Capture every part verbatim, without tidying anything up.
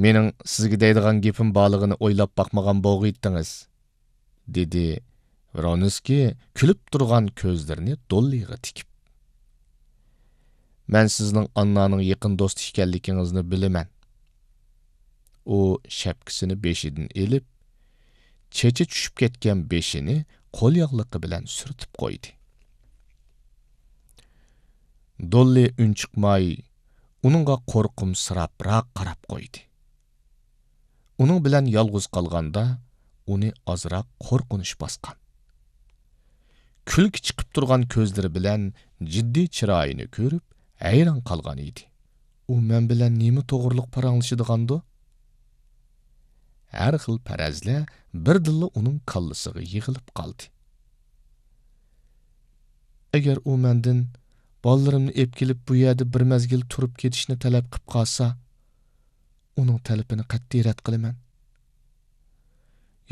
مېنىڭ سىزگە دەيدىغان گېپىم بارلىقىنى ئويلاپ باقمىغان بولغىيتتىڭىز، دېدى ۋرونسكىي كۈلۈپ تۇرغان كۆزلىرىنى دوللىغا تىكىپ. مەن سىزنىڭ ئاننانىڭ يېقىن دوستى ئىكەنلىكىڭىزنى بىلىمەن. ئۇ شەپكىسىنى بېشىدىن ئېلىپ، چېچى چۈشۈپ كەتكەن بېشىنى قول ياغلىقى بىلەن سۈرتۈپ قويدى. دوللى ئۈنچىقماي، ئۇنىڭغا قورقۇمسىراپراق قاراپ قويدى. ئۇنىڭ بىلەن يالغۇز قالغاندا، ئۇنى ئازراق قورقۇنچ باسقان. كۈلكە چىقىپ تۇرغان كۆزلىرى بىلەن جىددىي چىرايىنى كۆرۈپ، ھەيران قالغان ئىدى. ئۇ مەن بىلەن نېمە توغرىلىق پاراڭلىشىدىغاندۇ؟ ھەر خىل پەرەزلەر بىردىنلا ئۇنىڭ كاللىسىغا يىغىلىپ قالدى. ئەگەر ئۇ مەندىن بالىلىرىمنى ئېلىپ كېلىپ، بۇ يەردە بىر مەزگىل تۇرۇپ كېتىشنى تەلەپ قىپ قالسا، ئۇنىڭ تەلىپىنى قەتئىي رەت قىلىمەن.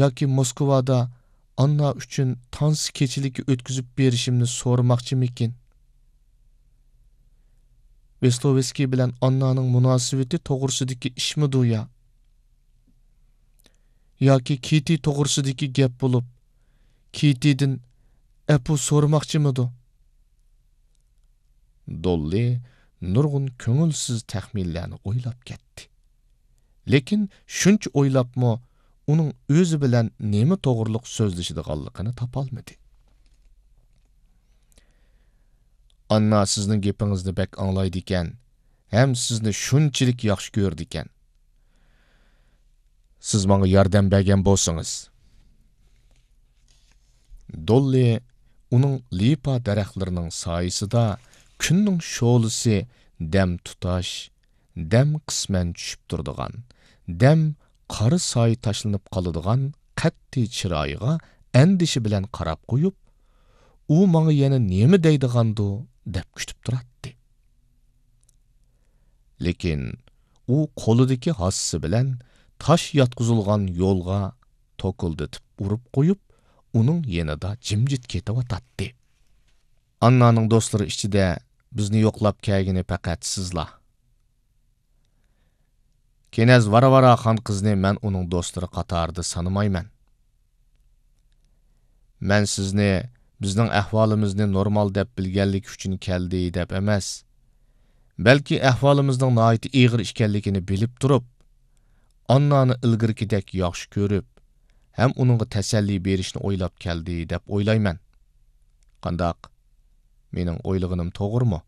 ياكى موسكۋادا ئاننا ئۈچۈن تانسا كېچىلىكى ئۆتكۈزۈپ بېرىشىمنى سورىماقچىمىكىن؟ ۋېستوۋېسكىي بىلەن ئاننانىڭ مۇناسىۋىتى توغرىسىدىكى ئىشمىدۇ يا؟ ياكى كىتى توغرىسىدىكى گەپ بولۇپ، كىتىدىن ئەپۇ سورىماقچىمىدۇ؟ دوللى نۇرغۇن كۆڭۈلسىز تەخمىنلەرنى ئويلاپ كەتتى. لېكىن شۇنچە ئويلاپمۇ ئۇنىڭ ئۆزى بىلەن نېمە توغرىلىق سۆزلىشىدىغانلىقىنى تاپالمىدى. ئاننا سىزنىڭ گېپىڭىزنى بەك ئاڭلايدىكەن ھەم سىزنى شۇنچىلىك ياخشى كۆرىدىكەن. سىز ماڭا ياردەم بەرگەن بولسىڭىز. دوللى ئۇنىڭ لىپا دەرەخلىرىنىڭ سايىسىدا كۈننىڭ شولىسى دەم تۇتاش، دەم قىسمەن چۈشۈپ تۇرىدىغان، دەم قارا سايە تاشلىنىپ قالىدىغان قەتئىي چىرايىغا ئەندىشە بىلەن قاراپ قويۇپ، ئۇ ماڭا يەنە نېمە دەيدىغاندۇ دەپ كۈتۈپ تۇراتتى. لېكىن ئۇ قولىدىكى ھاسىسى بىلەن تاش ياتقۇزۇلغان يولغا توكۇلدىتىپ ئۇرۇپ قويۇپ، ئۇنىڭ يېنىدا جىمجىت كېتىۋاتاتتى. ئاننانىڭ دوستلىرى ئىچىدە بىزنى يوقلاپ كەلگىنى پەقەت سىزلا. كېنەز ۋارۋارا خان قىزنى مەن ئۇنىڭ دوستلىرى قاتارىدا سانىمايمەن. مەن سىزنى بىزنىڭ ئەھۋالىمىزنى نورمال دەپ بىلگەنلىكى ئۈچۈن كەلدى دەپ ئەمەس، بەلكى ئەھۋالىمىزنىڭ ناھايىتى ئېغىر ئىكەنلىكىنى بىلىپ تۇرۇپ، ئاننانى ئىلگىرىكىدەك ياخشى كۆرۈپ ھەم ئۇنىڭغا تەسەللى بېرىشنى ئويلاپ كەلدى دەپ ئويلايمەن. قانداق؟ مېنىڭ ئويلىغىنىم توغرىمۇ؟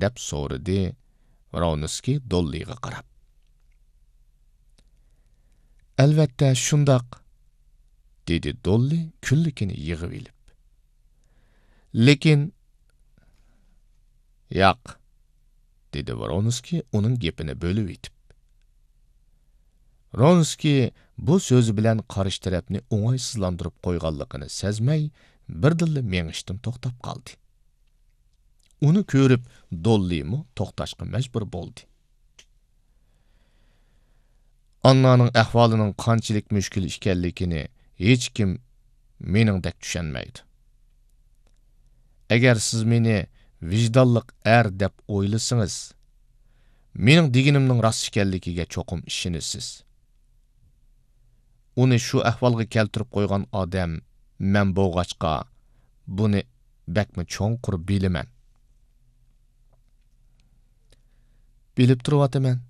دەپ سورىدى ۋرونسكىي دوللىغا قاراپ. ئەلۋەتتە، شۇنداق، دېدى دوللى كۈنلۈكىنى يىغىۋېلىپ. لېكىن، ياق، دېدى ۋرونسكىي ئۇنىڭ گېپىنى بۆلۈۋېتىپ. ۋرونسكىي بۇ سۆزى بىلەن قارشى تەرەپنى ئوڭايسىزلاندۇرۇپ قويغانلىقىنى سەزمەي، بىردىنلا مېڭىشتىن توختاپ قالدى. ئۇنى كۆرۈپ، دوللىمۇ توختاشقا مەجبۇر بولدى. ئاننانىڭ ئەھۋالىنىڭ قانچىلىك مۈشكۈل ئىكەنلىكىنى ھېچكىم مېنىڭدەك چۈشەنمەيدۇ. ئەگەر سىز مېنى ۋىجدانلىق ئەر دەپ ئويلىسىڭىز، مېنىڭ دېگىنىمنىڭ راست ئىكەنلىكىگە چوقۇم ئىشىنىسىز. ئۇنى شۇ ئەھۋالغا كەلتۈرۈپ قويغان ئادەم مەن بولغاچقا، بۇنى بەكمۇ چوڭقۇر بىلىمەن. بىلىپ تۇرۇۋاتىمەن،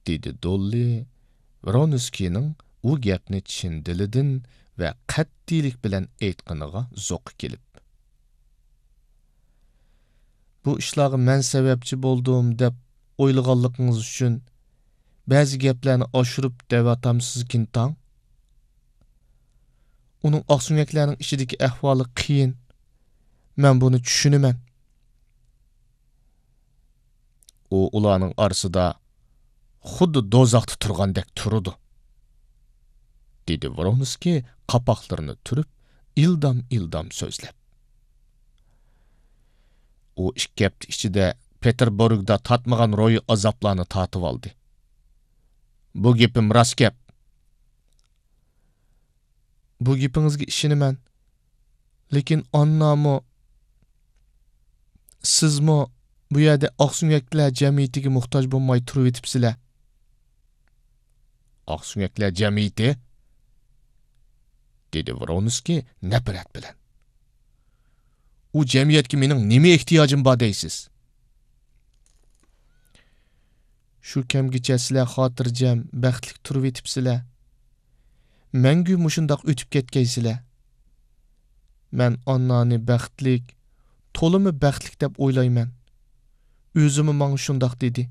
دېدى دوللى ۋرونسكىينىڭ ئۇ گەپنى چىن دىلىدىن ۋە قەتئىيلىك بىلەن ئېيتقىنىغا زوقى كېلىپ. بۇ ئىشلارغا مەن سەۋەبچى بولدۇم دەپ ئويلىغانلىقىڭىز ئۈچۈن بەزى گەپلەرنى ئاشۇرۇپ دەۋاتامسىزكىنتاڭ؟ ئۇنىڭ ئاقسۆڭەكلەرنىڭ ئىچىدىكى ئەھۋالى قىيىن. مەن بۇنى چۈشىنىمەن. ئۇ ئۇلارنىڭ ئارىسىدا خۇددى دوزاختا تۇرغاندەك تۇرىدۇ، دېدى ۋرونسكىي قاپاقلىرىنى تۈرۈپ، ئىلدام-ئىلدام سۆزلەپ. ئۇ ئىككى ھەپتە ئىچىدە پېتېربۇرگدا تارتمىغان روھىي ئازابلارنى تارتىۋالدى. بۇ گېپىم راست گەپ. بۇ گېپىڭىزگە ئىشىنىمەن. لېكىن ئاننامۇ، سىزمۇ بۇ يەردە ئاقسۆڭەكلەر جەمئىيىتىگە موھتاج بولماي تۇرۇۋېتىپسىلەر. ئاقسۆڭەكلەر جەمئىيىتى؟» دېدى ۋرونسكىي نەپرەت بىلەن. «ئۇ جەمئىيەتكە مېنىڭ نېمە ئېھتىياجىم بار دەيسىز؟» «شۇ كەمگىچە سىلەر خاتىرجەم، بەختلىك تۇرۇۋېتىپسىلەر. مەڭگۈ مۇشۇنداق ئۆتۈپ كەتكەيسىلەر. مەن ئاننانى بەختلىك، تولىمۇ بەختلىك دەپ ئويلايمەن. ئۆزىمۇ ماڭا شۇنداق دېدى»،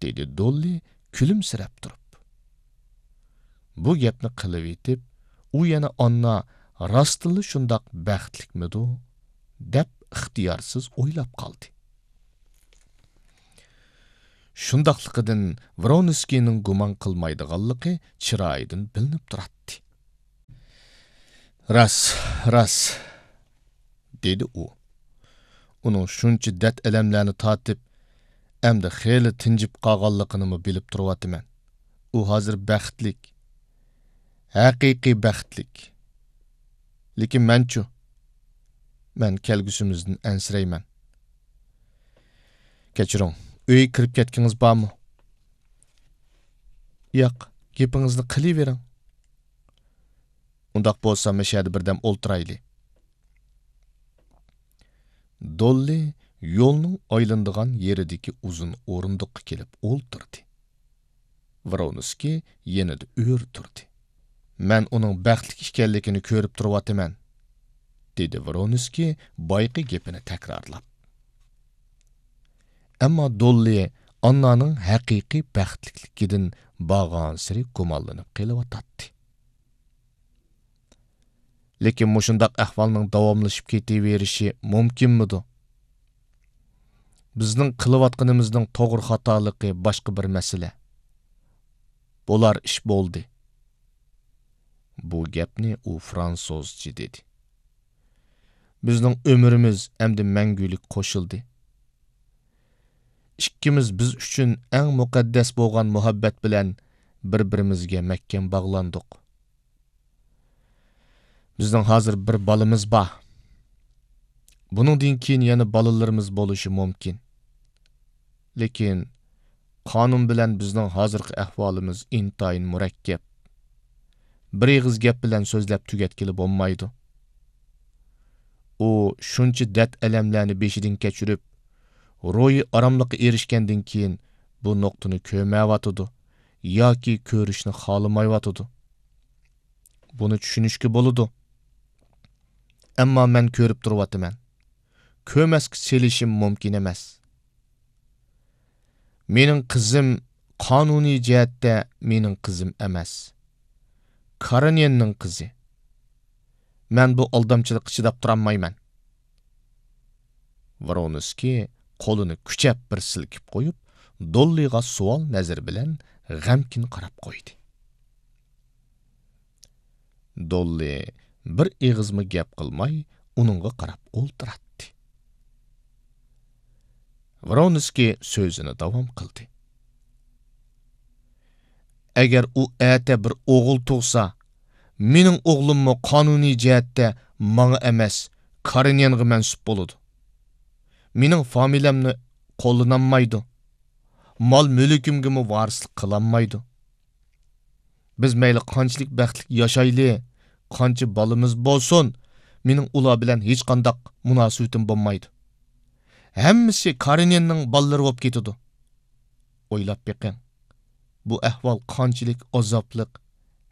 دېدى دوللى كۈلۈمسىرەپ تۇرۇپ. بۇ گەپنى قىلىۋېتىپ، ئۇ يەنە ئاننا راستتىنلا شۇنداق بەختلىكمىدۇ دەپ ئىختىيارسىز ئويلاپ قالدى. شۇنداقلىقىدىن ۋرونسكىينىڭ گۇمان قىلمايدىغانلىقى چىرايىدىن بىلىنىپ تۇراتتى. «راست، راست»، دېدى ئۇ. «ئۇنىڭ شۇنچە دەرد-ئەلەملەرنى تارتىپ، ئەمدى خېلى تىنجىپ قالغانلىقىنىمۇ بىلىپ تۇرۇۋاتىمەن. ئۇ ھازىر بەختلىك، ھەقىقىي بەختلىك. لېكىن مەنچۇ؟ مەن كەلگۈسىمىزدىن ئەنسىرەيمەن. كەچۈرۈڭ، ئۆيگە كىرىپ كەتكىڭىز بارمۇ؟» «ياق، گېپىڭىزنى قىلىۋېرىڭ.» «ئۇنداق بولسا، مەشەدە بىردەم ئولتۇرايلى.» دوللى يولنىڭ ئايلىنىدىغان يېرىدىكى ئۇزۇن ئورۇندۇققا كېلىپ ئولتۇردى. ۋرونسكىي يېنىدا ئۆرە تۇردى. «مەن ئۇنىڭ بەختلىك ئىكەنلىكىنى كۆرۈپ تۇرۇۋاتىمەن»، دېدى ۋرونسكىي بايىقى گېپىنى تەكرارلاپ. ئەمما دوللى ئاننانىڭ ھەقىقىي بەختلىكلىكىدىن بارغانسېرى گۇمانلىنىپ قېلىۋاتاتتى. «لېكىن مۇشۇنداق ئەھۋالنىڭ داۋاملىشىپ كېتىۋېرىشى مۇمكىنمىدۇ؟ بىزنىڭ قىلىۋاتقىنىمىزنىڭ توغرا خاتالىقى باشقا بىر مەسىلە. بولار ئىش بولدى.» بۇ گەپنى ئۇ فرانسۇزچە دېدى. «بىزنىڭ ئۆمرىمىز ئەمدى مەڭگۈلۈك قوشۇلدى. ئىككىمىز بىز ئۈچۈن ئەڭ مۇقەددەس بولغان مۇھەببەت بىلەن بىر-بىرىمىزگە مەھكەم باغلاندۇق. بىزنىڭ ھازىر بىر بالىمىز بار. بۇنىڭدىن كېيىن يەنە بالىلىرىمىز بولۇشى مۇمكىن. لېكىن قانۇن بىلەن بىزنىڭ ھازىرقى ئەھۋالىمىز ئىنتايىن مۇرەككەپ. بىر ئېغىز گەپ بىلەن سۆزلەپ تۈگەتكىلى بولمايدۇ. ئۇ شۇنچە دەرد-ئەلەملەرنى بېشىدىن كەچۈرۈپ، روھىي ئاراملىققا ئېرىشكەندىن كېيىن بۇ نۇقتىنى كۆرمەيۋاتىدۇ ياكى كۆرۈشنى خالىمايۋاتىدۇ. بۇنى چۈشىنىشكە بولىدۇ. ئەمما مەن كۆرۈپ تۇرۇۋاتىمەن. كۆرمەسكە سېلىشىم مۇمكىن ئەمەس. مېنىڭ قىزىم قانۇنىي جەھەتتە مېنىڭ قىزىم ئەمەس. كارېنىننىڭ قىزى. مەن بۇ ئالدامچىلىققا چىداپ تۇرالمايمەن.» ۋرونسكىي قولىنى كۈچەپ بىر سىلكىپ قويۇپ، دوللىغا سوئال نەزىرى بىلەن غەمكىن قاراپ قويدى. دوللى بىر ئېغىزمۇ گەپ قىلماي، ئۇنىڭغا قاراپ ئولتۇراتتى. ۋرونسكىي سۆزىنى داۋام قىلدى. «ئەگەر ئۇ ئەتە بىر ئوغۇل تۇغسا، مېنىڭ ئوغلۇممۇ قانۇنىي جەھەتتە ماڭا ئەمەس، كارېنىنغا مەنسۇپ بولىدۇ. مېنىڭ فامىلەمنى قوللىنالمايدۇ. مال-مۈلكۈمگىمۇ ۋارىسلىق قىلالمايدۇ. بىز مەيلى قانچىلىك بەختلىك ياشايلى، قانچە بالىمىز بولسۇن، مېنىڭ ئۇلار بىلەن ھېچقانداق مۇناسىۋىتىم بولمايدۇ. ھەممىسى كارېنىننىڭ بالىلىرى بولۇپ كېتىدۇ. ئويلاپ بېقىڭ، بۇ ئەھۋال قانچىلىك ئازابلىق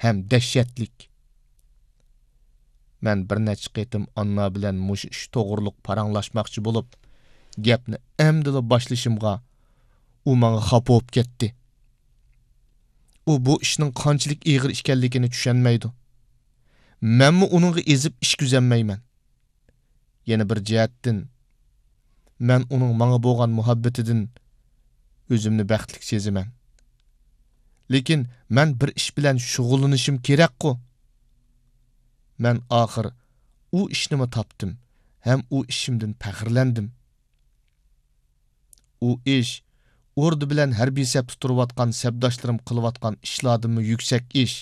ھەم دەھشەتلىك.» مەن بىر نەچچە قېتىم ئاننا بىلەن مۇشۇ ئىش توغرۇلۇق پاراڭلاشماقچى بولۇپ، گەپنى ئەمدىلا باشلىشىمغا، ئۇ ماڭا خاپا بولۇپ كەتتى. ئۇ بۇ ئىشنىڭ قانچىلىك ئېغىر ئىكەنلىكىنى چۈشەنمەيدۇ. مەنمۇ ئۇنىڭغا ئېزىپ ئىش كۆزەلمەيمەن. يەنە بىر جەھەتتىن، مەن ئۇنىڭ ماڭا بولغان مۇھەببىتىدىن ئۆزۈمنى بەختلىك سېزىمەن. لېكىن مەن بىر ئىش بىلەن شۇغۇللىنىشىم كېرەكقۇ. مەن ئاخىر ئۇ ئىشنىمۇ تاپتىم ھەم ئۇ ئىشىمدىن پەخىرلەندىم. ئۇ ئىش ئوردا بىلەن ھەربىي سەپتە تۇرۇۋاتقان سەپداشلىرىم قىلىۋاتقان ئىشلاردىنمۇ يۈكسەك ئىش.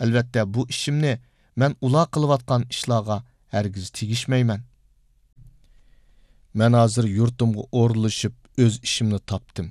ئەلۋەتتە، بۇ ئىشىمنى مەن ئۇلار قىلىۋاتقان ئىشلارغا ھەرگىز تېگىشمەيمەن. مەن ھازىر يۇرتۇمغا ئورۇنلىشىپ، ئۆز ئىشىمنى تاپتىم.